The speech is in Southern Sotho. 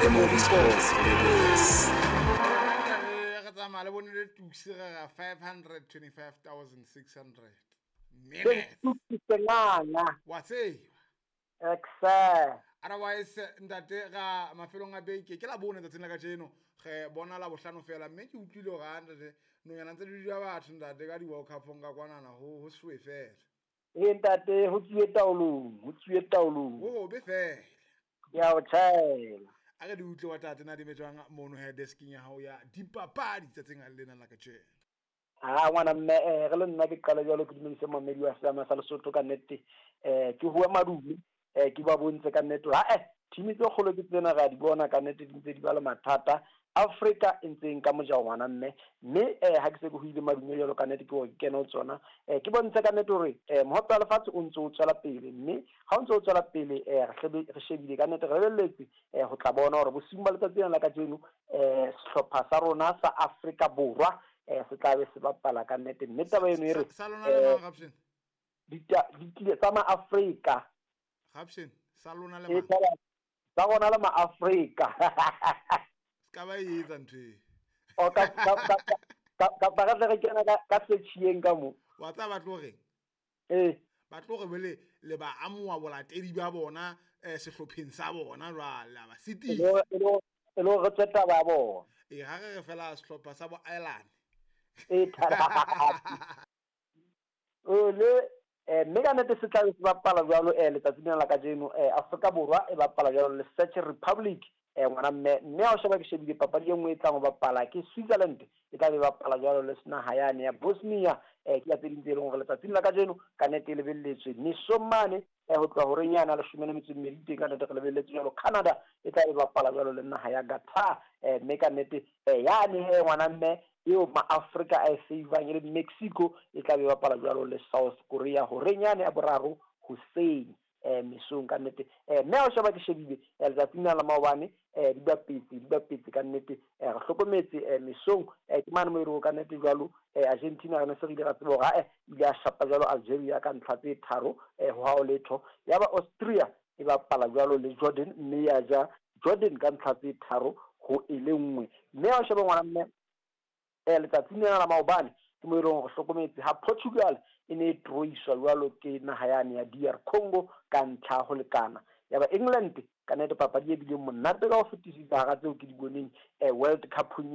MOB Sports Ladies. Re tsamaya le bone le tuksi re ra 525,600 minutes. Wa tseba. Exe. Otherwise ntate ga mafelong a beke ke la bone tsatsing la kajeno re bona la bohlano fela mme ke utlwile hore ha ntate nonyana ntse di dula batho ntate ka di-World Cup-ong ka kwanana ho suwe fela. Ee ntate, ho tsuwe taolong, ho tsuwe taolong. Ho hobe fela. Ke a o tjhaela. A re di utlwe wa tate na di metswang mono he desking ya hao ya dipapadi tsatsing lena la kajeno. Ha ngwana mme re le nna ke qala jwalo ke dumedise mamedi wa Seama sa Lesotho ka nnete. Ke hua madume, ke ba bontse ka nnete ha team tse kgolo ke tsena ra di bona ka nnete di ntse di ba le mathata. Afrika e ntse nka mojao ngwana mme, mme ha ke se ke hoile madume jwalo ka nnete ke hore ke kene ho tsona. Ke bontshe ka nnete hore mohope wa lefatshe o ntse o tswela pele, mme ha o ntse o tswela pele re shebile ka nnete re lebelletse ho tla bona hore bosiung ba letsatsi lena la kajeno sehlopha sa rona sa Afrika Borwa se tla be se bapala ka nnete. Mme taba eno e re Sa lona le mang, Rapshen? Ditile tsa ma-Afrika. Rapshen, sa lona le mang? Tsa rona le ma-Afrika. Ska ba e etsa ntho e. O ka re tle re kena ka search-eng ka mo. Wa tseba ba tlo reng? Ee. Ba tlo re bele le ba amoha bolatedi ba bona sehlopheng sa bona jwale, a ba sitisa. E le hore re tswe taba ya bona. Ee, ha re re fela sehlopha sa bo Ireland. Ee, le mme ka nnete se tla be se bapala jwalo letsatsing lena la kajeno. Afrika Borwa e bapala jwalo le Czech Republic. Ngwana mme, mme ha o sheba ke shebile papadi e nngwe e tlang ho bapala ke Switzerland, e tla be bapala jwalo le naha yane ya Bosnia. Ke ya tse ding tse leng hore letsatsing la kajeno ka nnete e lebelletswe mesong mane ho tloha horeng yana 12 teng ka nnete re lebelletse jwalo. Canada e tla be bapala jwalo le naha ya Qatar. Mme ka nnete yane he ngwana mme eo ma-Afrika a e favang e le Mexico e tla be bapala jwalo le South Korea horeng yane ya boraro hoseng. Mesong ka nnete. Mme ha o sheba ke shebile letsatsing la maobane di bapetse ka nnete. Re hlokometse mesong ke mane mo e leng ka nnete jwalo Argentina re ne se re ile ra tseba hore ile a shapa jwalo Algeria ka ntlha tse 3 ho hao letho. Yaba Austria e bapala jwalo le Jordan mme ya ja Jordan ka ntlha tse 3 ho e le 1. Mme ha o sheba ngwana mme letsatsing la maobane ke mo e leng hore hlokometse ha Portugal e ne e troiswa jwalo ke naha yane ya DR Congo ka ntlha ho lekana. Yaba England ka nnete papadi e bileng monate ka ho fetisisa hara tseo ke di boneng World Cup-ong.